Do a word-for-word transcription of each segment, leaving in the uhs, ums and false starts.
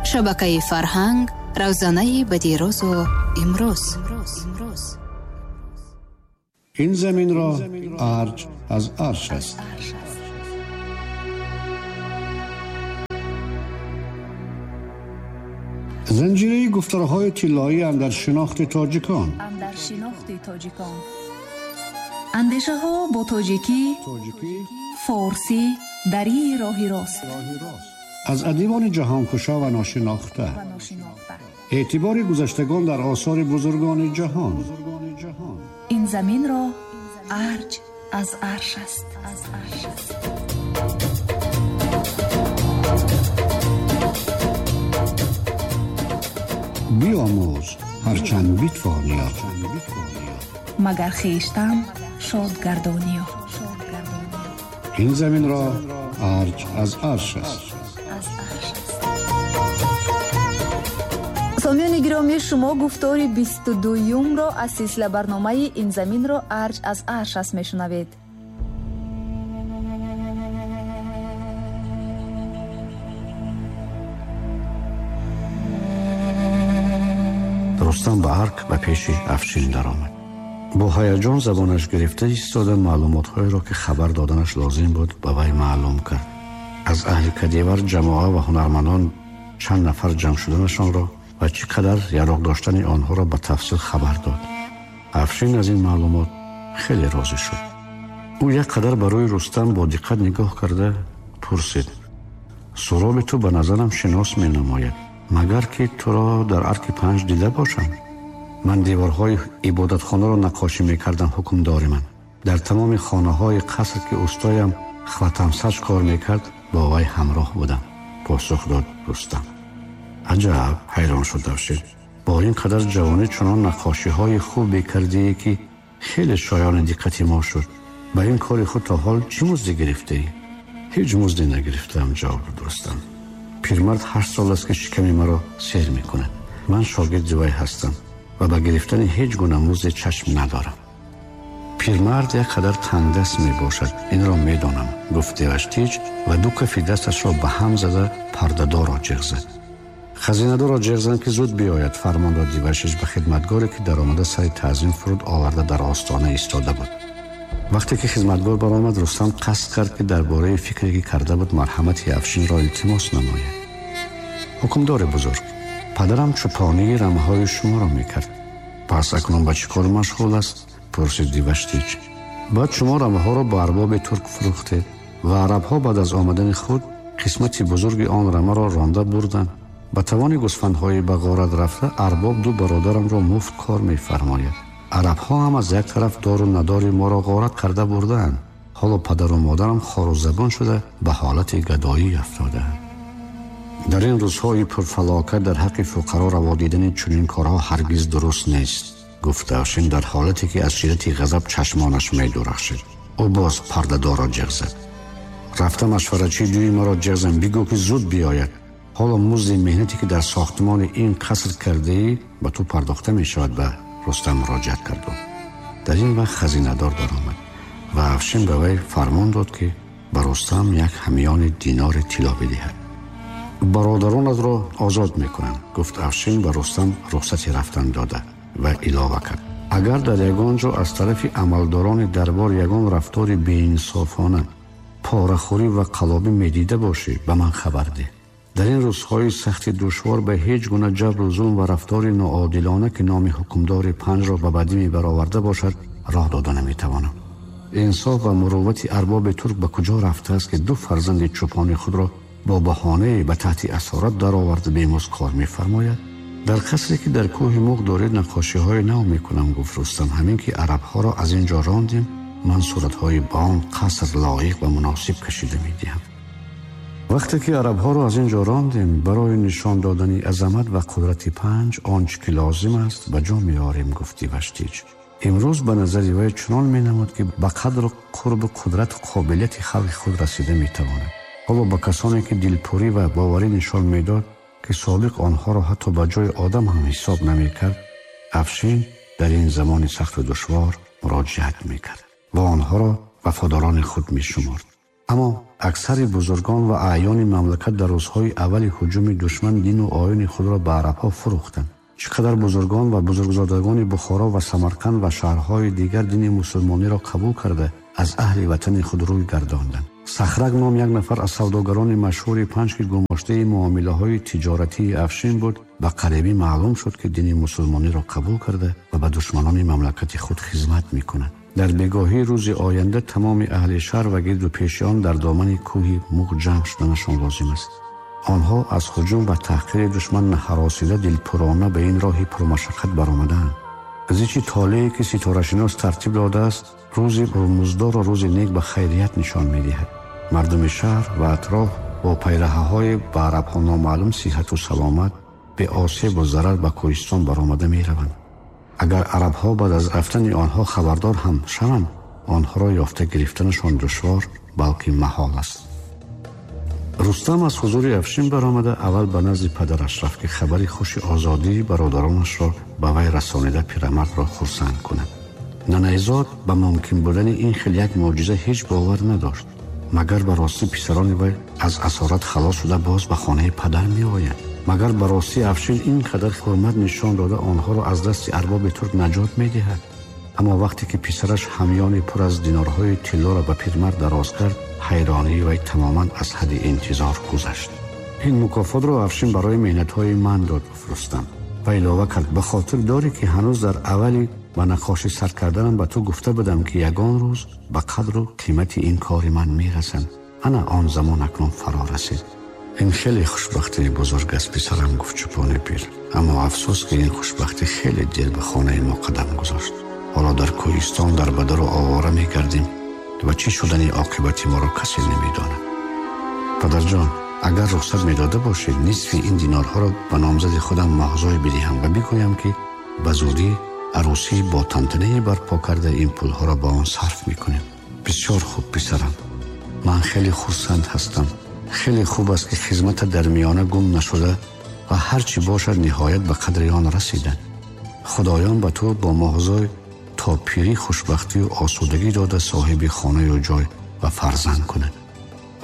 Шабакаи фарҳанг равзанаи ба дирӯзу имрӯз. Ин заминро арҷ аз арш аст. Занҷираи гуфторҳои тиллоӣ андар шинохти тоҷикон. Андар шинохти тоҷикон. Андешаҳо бо тоҷикӣ, форсӣ, дарии роҳи рост. Аз адибони ҷаҳонкушо ва ношинохта. Эътибори гузаштагон дар осори бузургони ҷаҳон. Ин заминро арҷ аз арш аст. Биомӯз ҳарчанд битвонӣ, магар хештан шод гардонӣ. Ин заминро арҷ аз арш аст. Сомиёни гиромӣ, шумо гуфтори бисту дуюмро аз силсила барномаи ин заминро арҷ аз арш аст мешунавед. Рустам ба арк ба пеши Афшин даромад. Бо ҳаяҷон забонаш гирифта истода маълумотҳоеро, ки хабар доданаш лозим буд, ба вай маълум кард. Аз аҳли кадевар ҷамоа ва ҳунармандон чанд нафар ҷамъ шуданашонро ва чӣ қадар яроқ доштани онҳоро ба тафсил хабар дод. Афшин аз ин маълумот хеле розӣ шуд. Ӯ як қадар ба рӯи Рустам бо диққат нигоҳ карда пурсид: суроби ту ба назарам шинос менамояд, магар ки туро дар арки панҷ дида бошам? Ман деворҳои ибодатхонаро наққошӣ мекардам, ҳукмдори ман. Дар тамоми хонаҳои қаср, ки устоям Хватамсач кор мекард, бо вай ҳамроҳ будам, посух дод Рустам. Аҷаб, ҳайрон шуд Афшин. Бо ин қадар ҷавонӣ чунон наққошиҳои хубе кардие, ки хеле шоёни диққати мо шуд. Ба ин кори худ то ҳол чӣ музде гирифтаӣ? Ҳеҷ музде нагирифтаам, ҷавоб дод Рустам. Пирмард ҳашт сол аст, ки шиками маро сер мекунад. Ман шогирди вай ҳастам ва ба гирифтани ҳеҷ гуна музде чашм надорам. Пирмард як қадар тангдаст мебошад, инро медонам, гуфт Деваштич ва ду кафи дасташро ба ҳам зада пардадорро ҷиғ зад. Хазинадорро ҷиғ зан, ки зуд биёяд, фармон дод Деваштич ба хидматгоре, ки даромада сари таъзим фуруд оварда дар остона истода буд. Вақте ки хизматгор баромад, Рустам қасд кард, ки дар бораи фикре, ки карда буд, марҳамати Афшинро илтимос намояд. Ҳукмдори бузург, падарам чӯпонии рамаҳои шуморо мекард. Пас акнун ба чӣ кор машғул аст? Пурсид Деваштич. Баъд шумо рамаҳоро ба арбоби турк фурӯхтед ва арабҳо баъд аз омадани худ қисмати бузурги он рамаро ронда бурданд. Ба тавони гӯсфандҳои ба ғорат рафта арбоб ду бародарамро муфт кор мефармояд. Арабҳо ҳам аз як тараф дору надори моро ғорат карда бурдаанд. Ҳоло падару модарам хору забон шуда ба ҳолати гадоӣ афтодаанд. Дар ин рӯзҳои пурфалокат дар ҳаққи фуқаро раво дидани чунин корҳо ҳаргиз дуруст нест, гуфт Афшин дар ҳолате, ки аз шиддати ғазаб чашмонаш медурахшид. Ӯ боз пардадорро ҷиғ зад. Рафта машваратчии дуи маро ҷиғ зан, бигӯ, ки зуд биёяд. Ҳоло музди меҳнате, ки дар сохтмони ин қаср кардаӣ, ба ту пардохта мешавад, ба Рустам муроҷиат кард. Дар ин вақт хазинадор даромад ва Афшин ба вай фармон дод, ки ба Рустам як ҳамёни динори тилло бидиҳад. Бародаронатро озод мекунам, гуфт Афшин ба Рустам рухсати рафтан дода ва илова кард: агар дар ягон ҷо аз тарафи амалдорони дарбор ягон рафтори беинсофона, порахӯрӣ ва қалобӣ медида бошӣ, ба ман хабар деҳ. Дар ин рӯзҳои сахти душвор ба ҳеҷ гуна ҷабру зулм ва рафтори ноодилона, ки номи ҳукмдори панҷро ба бадӣ мебароварда бошад, роҳ дода наметавонам. Инсоф ва муруввати арбоби турк ба куҷо рафтааст, ки ду фарзанди чӯпони худро бо баҳонае ба таҳти асорат дароварда бемузд кор мефармояд? Дар қасре, ки дар кӯҳи Муғ доред, наққошиҳои нав мекунам, гуфт Рустам. Ҳамин ки арабҳоро аз ин ҷо рондем, ман суратҳои ба он қаср лоиқ ва муносиб кашида медиҳам. Вақте ки арабҳоро аз ин ҷо рондем, барои нишон додани азамат ва қудрати панҷ он чӣ ки лозим аст ба ҷо меорем, гуфт Деваштич. Имрӯз ба назари вай чунон менамуд, ки ба қадру қурбу қудрату қобилияти халқи худ расида метавонад. Ҳоло ба касоне, ки дилпурӣ ва боварӣ нишон медод, ки собиқ онҳоро ҳатто ба ҷои одам ҳам ҳисоб намекард, Афшин дар ин замони сахту душвор муроҷиат мекард ва онҳоро вафодорони худ мешуморд. Аммо аксари бузургон ва аъёни мамлакат дар рӯзҳои аввали ҳуҷуми душман дину оини худро ба арабҳо фурӯхтанд. Чӣ қадар бузургон ва бузургзодагони Бухоро ва Самарқанд ва шаҳрҳои дигар дини мусулмониро қабул карда аз аҳли ватани худ рӯй гардонданд. Сахрак ном як нафар аз савдогарони машҳури панҷ, ки гумоштаи муомилаҳои тиҷоратии Афшин буд, ба қарибӣ маълум шуд, ки дини мусулмониро қабул карда ва ба душманони мамлакати худ хизмат мекунад. Дар бегоҳии рӯзи оянда тамоми аҳли шаҳр ва гирду пеши он дар домани кӯҳи Муғ ҷамъ шуданашон лозим аст. Онҳо аз ҳуҷум ва таҳқири душман наҳаросида дилпурона ба ин роҳи пурмашаққат баромадаанд. Зичи толее ки ситорашинос тартиб додааст, рӯзи пурмуздорро рӯзи нек ба хайрият нишон медиҳад. Мардуми шаҳр ва атроф бо пайраҳаҳои ба арабҳо номаълум сиҳату саломат беосебу зарар ба кӯҳистон баромада мераванд. Агар арабҳо баъд аз рафтани онҳо хабардор ҳам шаванд, онҳоро ёфта гирифтанашон душвор, балки маҳол аст. Рустам аз ҳузури Афшин баромада аввал ба назди падараш рафт, ки хабари хуши озодии бародаронашро ба вай расонида пирамардро хурсанд кунад. Нанайзод ба мумкин будани ин хел як мӯъҷиза ҳеҷ бовар надошт. Магар ба ростӣ писарони вай аз асорат халос шуда боз ба хонаи падар меоянд? Магар ба ростӣ Афшин ин қадар ҳурмат нишон дода онҳоро аз дасти арбоби турк наҷот медиҳад? Аммо вақте ки писараш ҳамёни пур аз динорҳои тиллоро ба пирмард дароз кард, ҳайронии вай тамоман аз ҳадди интизор гузашт. Ин мукофотро Афшин барои меҳнатҳои ман дод, гуфт Рустам ва илова кард: ба хотир дорӣ, ки ҳанӯз дар аввали ба наққошӣ сар карданам ба ту гуфта будам, ки ягон рӯз ба қадру қимати ин кори ман мерасам. Ана он замон акнун фаро расид. Ин хеле хушбахтии бузург аст, писарам, гуфт чӯпони пир. Аммо афсӯс, ки ин хушбахтӣ хеле дер ба хонаи мо қадам гузошт. Ҳоло дар кӯҳистон дар бадару овора мегардем ва чӣ шудани оқибати моро касе намедонад. Падарҷон, агар рухсат медода бошед, нисфи ин динорҳоро ба номзади худам Моҳзой бидиҳам ва бигӯям, ки ба зудӣ арӯсӣ бо тантанае барпо карда ин пулҳоро ба он сарф мекунем. Бисёр хуб, писарам, ман хеле хурсанд ҳастам. Хеле хуб аст, ки хизмата дар миёна гум нашуда ва ҳар чӣ бошад ниҳоят ба қадри он расиданд. Худоён ба ту бо Моҳзой то пирӣ хушбахтию осудагӣ дода соҳиби хонаю ҷой ва фарзанд кунад.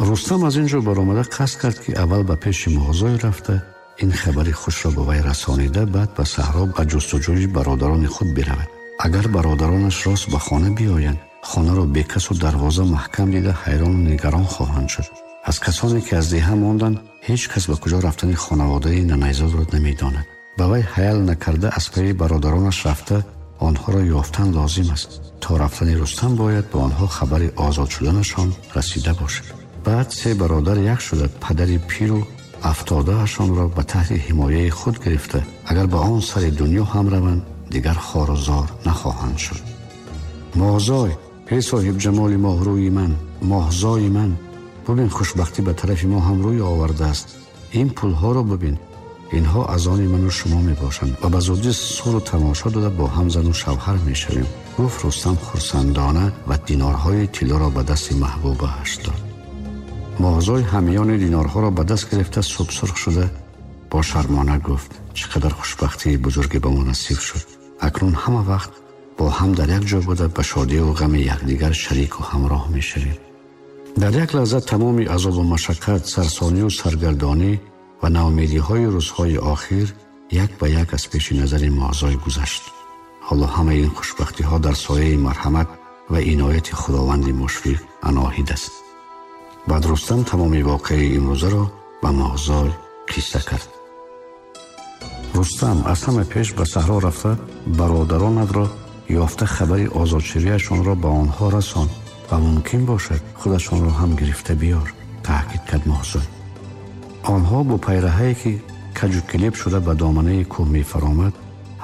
Рустам аз ин ҷо баромада қасд кард, ки аввал ба пеши Моҳзой рафта ин хабари хушро ба вай расонида, баъд ба саҳро ба ҷустуҷӯи бародарони худ биравад. Агар бародаронаш рост ба хона биёянд, хонаро бекасу дарвоза маҳкам дида ҳайрону нигарон хоҳанд шуд. Аз касоне ки аз деҳа монданд, ҳеҷ кас ба куҷо рафтани хонаводаи Нанайзодро намедонад. Ба вай ҳаёл накарда аз пайи бародаронаш рафта онҳоро ёфтан лозим аст. То рафтани Рустам бояд ба онҳо хабари озод шуданашон расида бошад. Баъд се бародар як шуда падари пиру афтодаашонро ба таҳти ҳимояи худ гирифта, агар ба он сари дунё ҳам раванд, дигар хору зор нахоҳанд шуд. Моҳзой, эй соҳиб ҷамоли моҳрӯи ман, моҳзои ман, бубин хушбахтӣ ба тарафи мо ҳам рӯй овардааст. Ин пулҳоро бубин, инҳо аз они ману шумо мебошанд ва ба зудӣ суру тамошо дода бо ҳам зану шавҳар мешавем, гуфт Рустам хурсандона ва динорҳои тиллоро ба дасти маҳбубааш дод. Моҳзой ҳамёни динорҳоро ба даст гирифта субсурх шуда бо шармона гуфт: чӣ қадар хушбахтии бузурге ба мо насиб шуд. Акнун ҳама вақт бо ҳам дар як ҷо буда ба шодиву ғами якдигар шарику ҳамроҳ мешавем. Дар як лаҳза тамоми азобу машаққат, сарсонию саргардонӣ ва ноумедиҳои рӯзҳои охир як ба як аз пеши назари Моҳзой гузашт. Ҳоло ҳамаи ин хушбахтиҳо дар сояи марҳамат ва инояти Худованди мушфиқ аноҳид аст. Баъд Рустам тамоми воқеаи имрӯзаро ба Моҳзой қисса кард. Рустам аз ҳама пеш ба саҳро рафта бародаронатро ёфта хабари озодшавиашонро ба онҳо расон ва мумкин бошад худашонро ҳам гирифта биёр, таъкид кард Моҳзой. Онҳо бо пайраҳае ки каҷу килеб шуда ба доманаи кӯҳ мефаромад,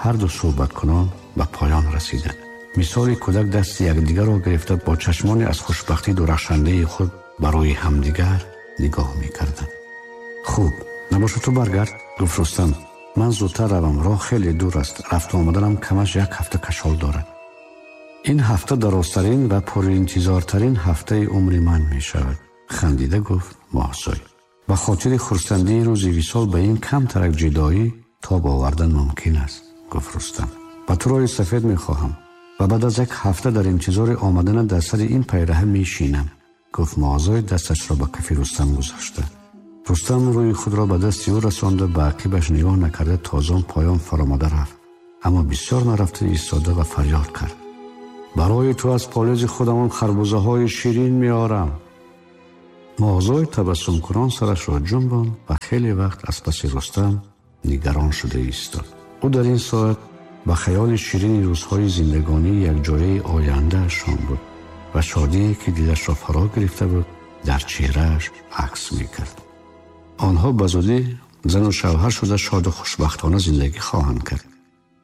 ҳарду суҳбаткунон ба поён расиданд. Мисоли кӯдак дасти якдигарро гирифта бо чашмони аз хушбахтӣ дурахшандаи худ ба рӯи ҳамдигар нигоҳ мекарданд. Хуб, набошад ту баргард, гуфт Рустам. Ман зудтар равам, роҳ хеле дур аст, рафту омаданам камаш як ҳафта кашол дорад. Ин ҳафта дарозтарин ва пуринтизортарин ҳафтаи умри ман мешавад, хандида гуфт Моҳзой. Ба хотири хурсандии рӯзи висол ба ин камтарак ҷудоӣ тоб овардан мумкин аст, гуфт Рустам. Ба ту роҳи сафед мехоҳам ва баъд аз як ҳафта дар интизори омаданат дар сари ин пайраҳа мешинам. Гуфт Моҳзой дасташро ба кафи Рустам гузошта. Рустам рӯи худро ба дасти ӯ расонда, ба ақибаш нигоҳ накарда тозон поён фаромада рафт. Аммо бисёр нарафта истода ва фарёд кард: барои ту аз полези худамон харбузаҳои ширин меорам. Моҳзой табассумкунон сарашро ҷунбонд ва хеле вақт аз паси Рустам нигарон шуда истод. Ӯ дар ин соат ба хаёли ширини рӯзҳои зиндагонии якҷояи ояндаашон буд ва шодие ки дилашро фаро гирифта буд дар чеҳрааш акс мекард. Онҳо ба зудӣ зану шавҳар шуда шоду хушбахтона зиндагӣ хоҳанд кард.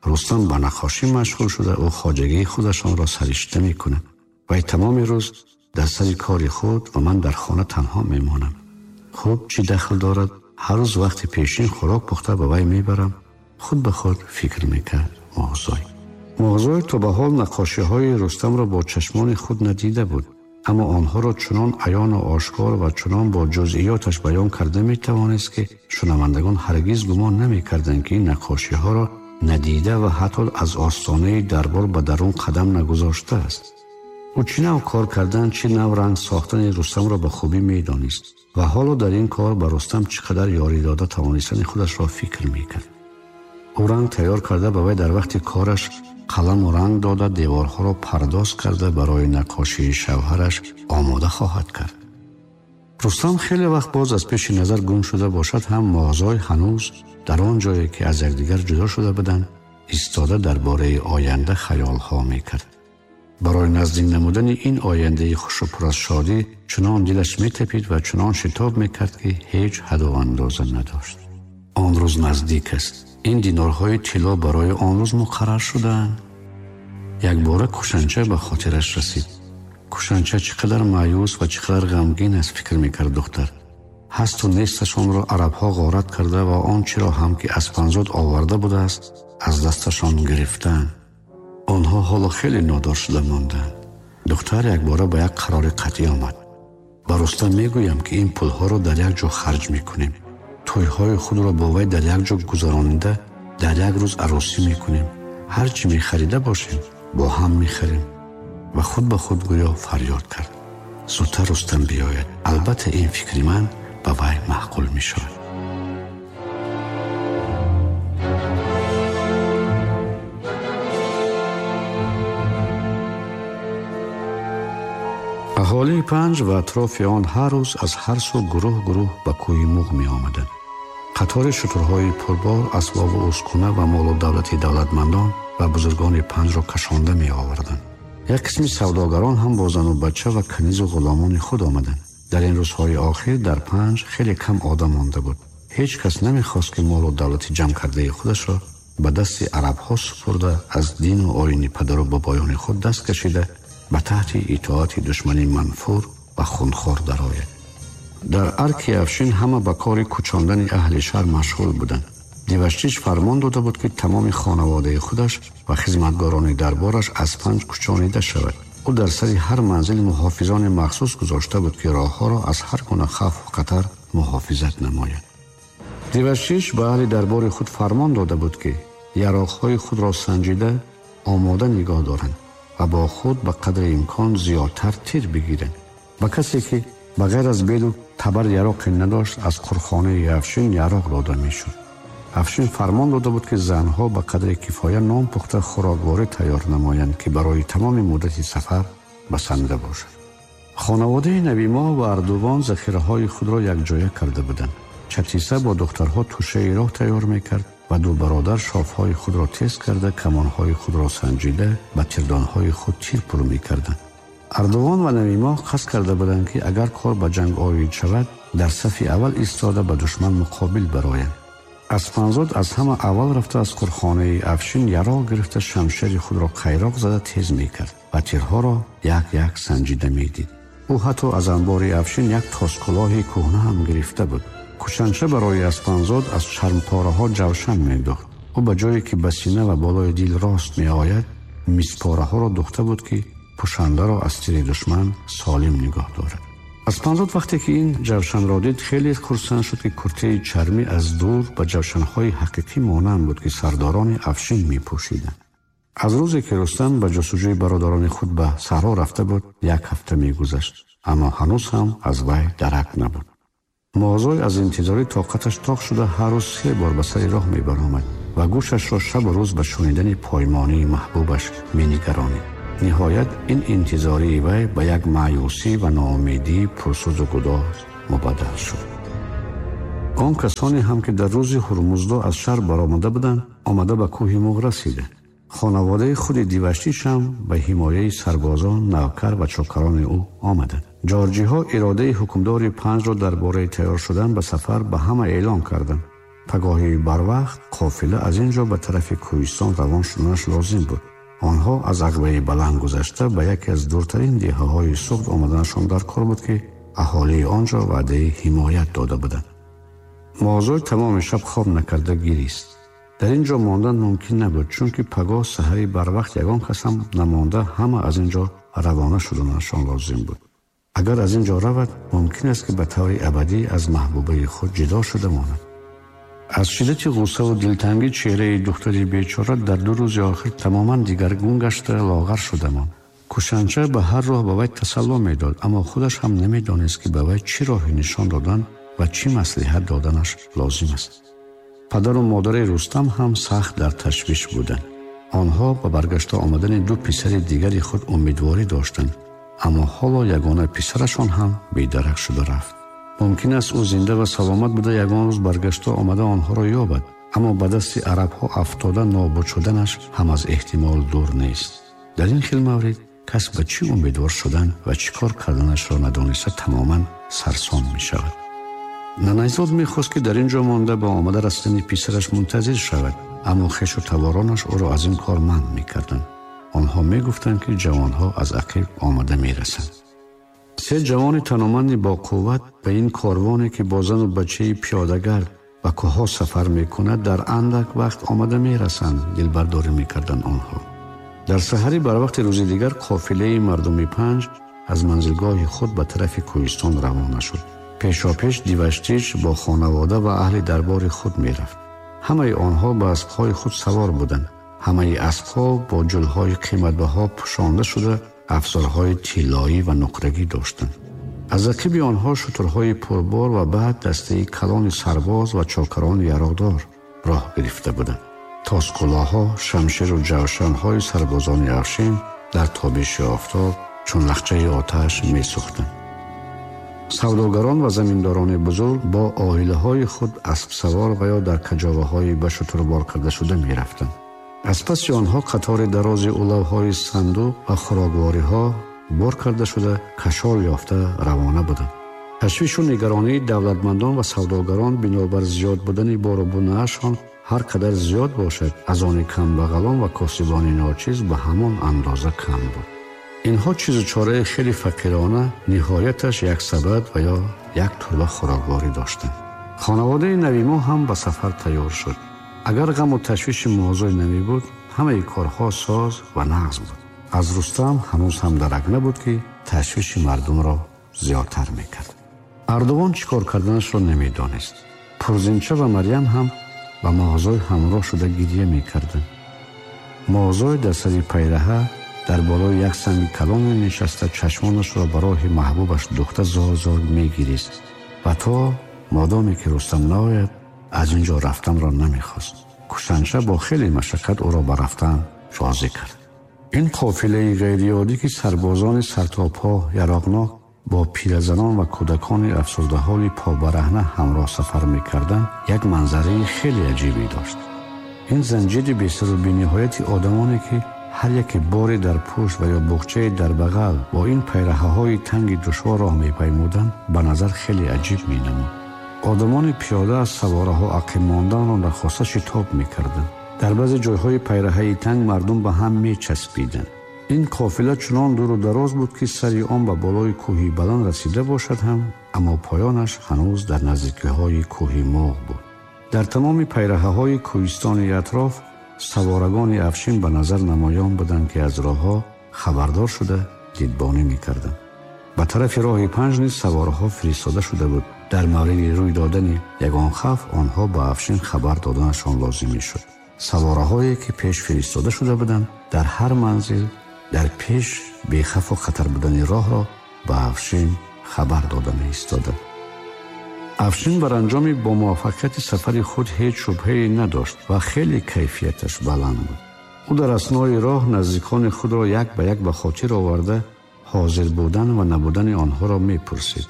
Рустам ба наққошӣ машғул шуда, ӯ хоҷагии худашонро саришта мекунад. Вай тамоми рӯз дар сари кори худ ва ман дар хона танҳо мемонам. Хуб, чӣ дахл дорад? Ҳар рӯз вақти пешин хӯрок пухта ба вай мебарам. Худ ба худ фикр мекард Моҳзой. Моҳзой то ба ҳол наққошиҳои Рустамро бо чашмони худ надида буд, аммо онҳоро чунон аёну ошкор ва чунон бо ҷузъиёташ баён карда метавонист, ки шунавандагон ҳаргиз гумон намекарданд, ки ин наққошиҳоро надида ва ҳатто аз остонаи дарбор ба дарун қадам нагузоштааст. Ӯ чӣ нав кор кардан, чӣ нав ранг сохтани Рустамро ба хубӣ медонист ва ҳоло дар ин кор ба Рустам чӣ қадар ёрӣ дода тавонистани худашро фикр мекард. Ӯ ранг тайёр карда ба вай дар вақти кораш қаламу ранг дода, деворҳоро пардоз карда барои наққошии шавҳараш омода хоҳад кард. Рустам хеле вақт боз аз пеши назар гум шуда бошад ҳам, Моҳзой ҳанӯз дар он ҷое ки аз якдигар ҷудо шуда буданд истода дар бораи оянда хаёлҳо мекард. Барои наздик намудани ин ояндаи хушу пур аз шодӣ чунон дилаш метапид ва чунон шитоб мекард, ки ҳеҷ ҳаду андоза надошт. Он рӯз наздик аст. Ин динорҳои тилло барои он рӯз муқаррар шудаанд. Якбора Кушанча ба хотираш расид. Кушанча чӣ қадар маъюс ва чӣ қадар ғамгин аст, фикр мекард духтар. Ҳасту несташонро арабҳо ғорат карда ва он чиро ҳам ки аз Панзод оварда будааст аз дасташон гирифтаанд. Онҳо ҳоло хеле нодор шуда монданд. Духтар якбора ба як қарори қатъӣ омад. Ба Рустам мегӯям, ки ин пулҳоро дар як ҷо харҷ мекунем. Тӯйҳои худро бо вай дар як ҷо гузаронида дар як рӯз арӯсӣ мекунем. Ҳар чӣ мехарида бошем бо ҳам мехарем. Ва худ ба худ гӯё фарёд кард: зудтар Рустам биёяд. Албатта ин фикри ман ба вай маъқул мешавад. Аҳолии Панҷ ва атрофи он ҳар рӯз аз ҳар сӯ гурӯҳ гурӯҳ ба кӯҳи Муғ меомаданд. Қатори шутурҳои пурбор асбобу ускуна ва молу давлати давлатмандон ва бузургони Панҷро кашонда меоварданд. Як қисми савдогарон ҳам бо зану бача ва канизу ғуломони худ омаданд. Дар ин рӯзҳои охир дар Панҷ хеле кам одам монда буд. Ҳеҷ кас намехост, ки молу давлати ҷамъ кардаи худашро ба дасти арабҳо супурда, аз дину оини падару бобоёни худ даст кашида ба таҳти итоати душмани манфур ва хунхор дарояд. Дар арки Афшин ҳама ба кори кӯчондани аҳли шаҳр машғул буданд. Деваштич фармон дода буд, ки тамоми хонаводаи худаш ва хизматгорони дарбораш аз Панҷ кӯчонида шавад. Ӯ дар сари ҳар манзил муҳофизони махсус гузошта буд, ки роҳҳоро аз ҳар гуна хавфу хатар муҳофизат намояд. Деваштич ба аҳли дарбори худ фармон дода буд, ки яроқҳои худро санҷида омода нигоҳ доранд ва бо худ ба қадри имкон зиёдтар тир бигиранд. Ба касе ки ба ғайр аз белу табар яроқе надошт, аз қурхонаи Афшин яроқ дода мешуд. Афшин фармон дода буд, ки занҳо ба қадри кифоя нон пухта хӯрокворӣ тайёр намоянд, ки барои тамоми муддати сафар басанда бошад. Хонаводаи Навимоҳ ва Ардувон захираҳои худро якҷоя карда буданд. Чатиса бо духтарҳо тӯшаи роҳ тайёр мекард ва ду бародар шофҳои худро тез карда, камонҳои худро санҷида, ба тирдонҳои худ тир пур мекарданд. Ардувон ва Навимоҳ қасд карда буданд, ки агар кор ба ҷанг оид шавад, дар сафи аввал истода ба душман муқобил бароянд. Аспанзод аз ҳама аввал рафта аз қурхонаи Афшин яроқ гирифта, шамшери худро қайроқ зада тез мекард ва тирҳоро як-як санҷида медид. Ӯ ҳатто аз анбори Афшин як тоскулоҳи кӯҳна ҳам гирифта буд. Кушанча барои Аспанзод аз чармпораҳо ҷавшан медухт. Ӯ ба ҷое ки ба сина ва болои дил рост меояд, миспораҳоро духта буд, ки пӯшандаро аз тири душман солим нигоҳ дорад. Аспанзод вақте ки ин ҷавшанро дид, хеле хурсанд шуд, ки куртаи чармӣ аз дур ба ҷавшанҳои ҳақиқӣ монанд буд, ки сардорони Афшин мепӯшиданд. Аз рӯзе ки Рустам ба ҷустуҷӯи бародарони худ ба саҳро рафта буд, як ҳафта мегузашт. Аммо ҳанӯз ҳам аз вай дарак набуд. Муозой аз интизорӣ тоқаташ тоқ шуда ҳар рӯз се бор ба сари роҳ мебаромад ва гӯшашро шабу рӯз ба шунидани поймонии маҳбубаш менигаронид. Ниҳоят ин интизории вай ба як маъюсӣ ва ноумедии пурсӯзу гудоз мубаддал шуд. Он касоне ҳам ки дар рӯзи Ҳурмуздо аз шаҳр баромада буданд, омада ба кӯҳи Муғ расиданд. Хонаводаи худи Диваштич ҳам ба ҳимояи сарбозон, навкар ва чокарони ӯ омаданд. Ҷорҷиҳо иродаи ҳукмдори панҷро дар бораи тайёр шудан ба сафар ба ҳама эълон карданд. Пагоҳи барвақт қофила аз ин ҷо ба тарафи кӯҳистон равон шуданаш лозим буд. Онҳо аз ағбаи баланд гузашта ба яке аз дуртарин деҳаҳои Суғд омаданашон дар кор буд, ки аҳолии он ҷо ваъдаи ҳимоят дода буданд. Муозой тамоми шаб хоб накарда гирист. Дар ин ҷо мондан мумкин набуд, чунки пагоҳ саҳари барвақт ягон кас ҳам намонда ҳама аз ин ҷо равона шуданашон лозим буд. Агар аз ин ҷо равад, мумкин аст ки ба таври абадӣ аз маҳбубаи худ ҷудо шуда монад. Аз шиддати ғуссаву дилтангӣ чеҳраи духтари бечора дар ду рӯзи охир тамоман дигаргун гашта лоғар шуда монд. Кушанча ба ҳар роҳ ба вай тасалло медод, аммо худаш ҳам намедонист, ки ба вай чӣ роҳе нишон додан ва чӣ маслиҳат доданаш лозим аст. Падару модари Рустам ҳам сахт дар ташвиш буданд. Онҳо ба баргашта омадани ду писари дигари худ умедворӣ доштанд, аммо ҳоло ягона писарашон ҳам бедарак шуда рафт. Мумкин аст ӯ зинда ва саломат буда ягон рӯз баргашта омада онҳоро ёбад, аммо ба дасти арабҳо афтода нобуд шуданаш ҳам аз эҳтимол дур нест. Дар ин хел маврид кас ба чӣ умедвор шудан ва чӣ кор карданашро надониста тамоман сарсон мешавад. Нанайзод мехост, ки дар ин ҷо монда ба омада расидани писараш мунтазир шавад, аммо хешу таворонаш ӯро аз ин кор манъ мекарданд. Онҳо мегуфтанд, ки ҷавонҳо аз ақиб омада мерасанд. Се ҷавони таноманди бо қувват ба ин корвоне, ки бо зану бачаи пиёдагард ба кӯҳҳо сафар мекунад, дар андак вақт омада мерасанд, дилбардорӣ мекарданд онҳо. Дар саҳари барвақти рӯзи дигар қофилаи мардуми панҷ аз манзилгоҳи худ ба тарафи кӯҳистон равона шуд. Пешопеш Диваштич бо хонавода ва аҳли дарбори худ мерафт. Ҳамаи онҳо ба аспҳои худ савор буданд. Ҳамаи аспҳо бо ҷулҳои қиматбаҳо пӯшонда шуда афзорҳои тиллоӣ ва нуқрагӣ доштанд. Аз ақиби онҳо шутурҳои пурбор ва баъд дастаи калони сарбоз ва чокарони яроқдор роҳ гирифта буданд. Тоскулоҳо, шамшеру ҷавшанҳои сарбозони Афшин дар тобиши офтоб чун лахчаи оташ месӯхтанд. Савдогарон ва заминдорони бузург бо оилаҳои худ аспсавор ва ё дар каҷоваҳои ба шутурбор карда шуда мерафтанд. Аз паси онҳо қатори дарози улавҳои сандуқ ва хӯроквориҳо бор карда шуда кашол ёфта равона буданд. Ташвишу нигаронии давлатмандон ва савдогарон бинобар зиёд будани бору бунаашон ҳар қадар зиёд бошад, аз они камбағалон ва косибони ночиз ба ҳамон андоза кам буд. Инҳо чизу чораи хеле фақирона, ниҳояташ як сабад ва ё як турба хӯрокворӣ доштанд. Хонаводаи нави мо ҳам ба сафар тайёр шуд. Агар ғаму ташвиши муозой намебуд, ҳамаи корҳо соз ва нағз буд. Аз Рустам ҳанӯз ҳам дарак набуд, ки ташвиши мардумро зиёдтар мекард. Ардувон чӣ кор карданашро намедонист. Пурзинча ва Марьям ҳам ба муозой ҳамроҳ шуда гирья мекарданд. Муозой дар сари пайраҳа дар болои як санги калоне нишаста чашмонашро ба роҳи маҳбубаш духта зор-зор мегирист ва то модоме ки Рустам наояд, аз ин ҷо рафтанро намехост. Кушанча бо хеле машаққат ӯро ба рафтан розӣ кард. Ин қофилаи ғайриоддӣ, ки сарбозони сартопо яроқнок бо пиразанон ва кӯдакони афсурдаҳоли побараҳна ҳамроҳ сафар мекарданд, як манзараи хеле аҷибе дошт. Ин занҷири бесару бениҳояти одамоне, ки ҳар яке боре дар пушт ва ё буғчае дар бағал бо ин пайраҳаҳои танги душвор роҳ мепаймуданд, ба назар хеле аҷиб менамуд. Одамони пиёда аз савораҳо ақиб монданро нахоста шитоб мекарданд. Дар баъзе ҷойҳои пайраҳаи танг мардум ба ҳам мечаспиданд. Ин қофила чунон дуру дароз буд, ки сари он ба болои кӯҳи баланд расида бошад ҳам, аммо поёнаш ҳанӯз дар наздикиҳои кӯҳи Муғ буд. Дар тамоми пайраҳаҳои кӯҳистони атроф саворагони Афшин ба назар намоён буданд, ки аз роҳҳо хабардор шуда дидбонӣ мекарданд. Ба тарафи роҳи панҷ низ савораҳо фиристода шуда буд. Дар мавриди рӯй додани ягон хавф онҳо ба Афшин хабар доданашон лозим мешуд. Савораҳое, ки пеш фиристода шуда буданд, дар ҳар манзил дар пеш бехавфу хатар будани роҳро ба Афшин хабар дода меистода. Афшин бар анҷоми бо муваффақияти сафари худ ҳеҷ шубҳае надошт ва хеле кайфияташ баланд буд. Ӯ дар аснои роҳ наздикони худро як ба як ба хотир оварда ҳозир будан ва набудани онҳоро мепурсид.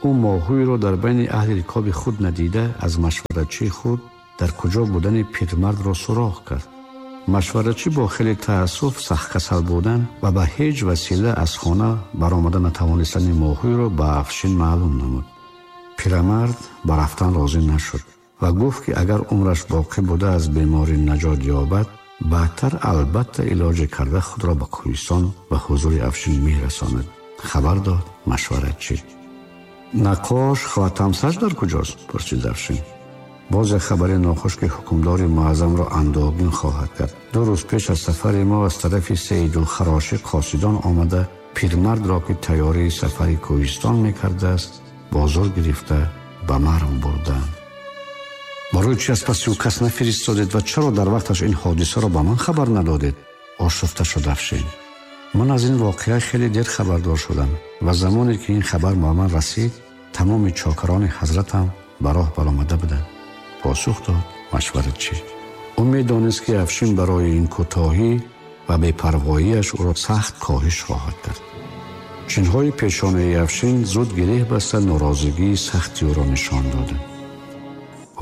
Ӯ моҳӯйро дар байни аҳли рикоби худ надида аз машваратчии худ дар куҷо будани пирмардро суроғ кард. Машваратчӣ бо хеле таассуф сахткасал будан ва ба ҳеҷ васила аз хона баромада натавонистани моҳӯйро ба Афшин маълум намуд. Пирамард ба рафтан розӣ нашуд ва гуфт, ки агар умраш боқӣ буда аз беморӣ наҷот ёбад, баъдтар албатта илоҷе карда худро ба кӯҳистон ва ҳузури Афшин мерасонад. Хабар дод машваратчӣ. Наққош Хватамсаҷ дар куҷост? Пурсид Афшин. Боз як хабари нохуш, ки ҳукмдори муаззамро андӯҳгин хоҳад кард. Ду рӯз пеш аз сафари мо аз тарафи Саидулхарошӣ қосидон омада пирмардро, ки тайёрии сафари кӯҳистон мекардааст, бо зур гирифта ба Марв бурданд. Барои чи аз паси ӯ кас нафиристодед ва чаро дар вақташ ин ҳодисаро ба ман хабар надодед? Ошуфта шуд Афшин. Ман аз ин воқеа хеле дер хабардор шудам ва замоне ки ин хабар ба ман расид, тамоми чокарони ҳазратам ба роҳ баромада буданд. Посух дод машваратчӣ. Ӯ медонист, ки Афшин барои ин кӯтоҳӣ ва бепарвоияш ӯро сахт коҳиш хоҳад кард. Чинҳои пешонаи Афшин зуд гиреҳ баста норозигии сахти ӯро нишон доданд.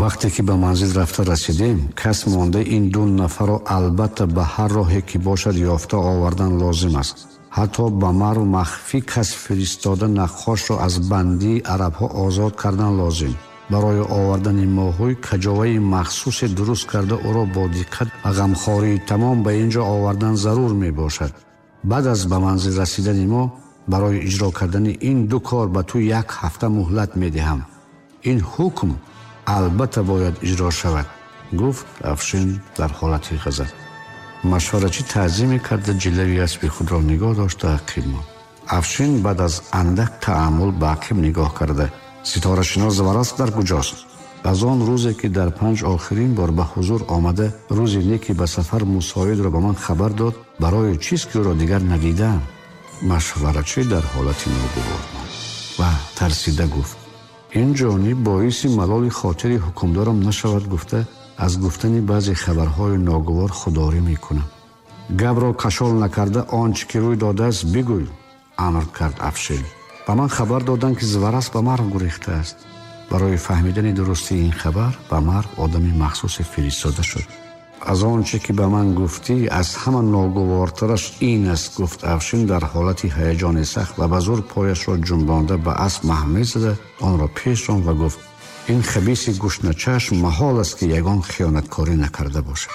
Вақте ки ба манзил рафта расидем, кас монда ин ду нафарро албатта ба ҳар роҳе ки бошад ёфта овардан лозим аст. Ҳатто ба Марв махфӣ кас фиристода наққошро аз бандии арабҳо озод кардан лозим. Барои овардани моҳӯй каҷоваи махсусе дуруст карда ӯро бо диққат ва ғамхории тамом ба ин ҷо овардан зарур мебошад. Баъд аз ба манзил расидани мо барои иҷро кардани ин ду кор ба ту як ҳафта муҳлат медиҳам. Ин ҳукм албатта бояд иҷро шавад, гуфт Афшин дар ҳолати ғазаб. Машваратчӣ таъзиме карда ҷилави аспи худро нигоҳ дошта ақиб монд. Афшин баъд аз андак таъаммул ба ақиб нигоҳ карда: ситорашинос Заварасп дар куҷост? Аз он рӯзе ки дар панҷ охирин бор ба ҳузур омада, рӯзи неки ба сафар мусоидро ба ман хабар дод, барои чиз ки ӯро дигар надидаам. Машваратчӣ дар ҳолати ногувор монд ва тарсида гуфт: ин ҷониб боиси малоли хотири ҳукмдорам нашавад, гуфта аз гуфтани баъзе хабарҳои ногувор худдорӣ мекунам. Гапро кашол накарда он чӣ ки рӯй додааст бигӯй, амр кард Афшин. Ба ман хабар доданд, ки Заварасп ба Марв гурехтааст. Барои фаҳмидани дурустии ин хабар ба Марв одами махсусе фиристода шуд. Аз он чӣ ки ба ман гуфтӣ аз ҳама ногувортараш ин аст, гуфт Афшин дар ҳолати ҳаяҷони сахт ва ба зур пояшро ҷунбонда ба асп маҳмез зада онро пеш ронд ва гуфт: ин хабиси гушначашм маҳол аст, ки ягон хиёнаткорӣ накарда бошад.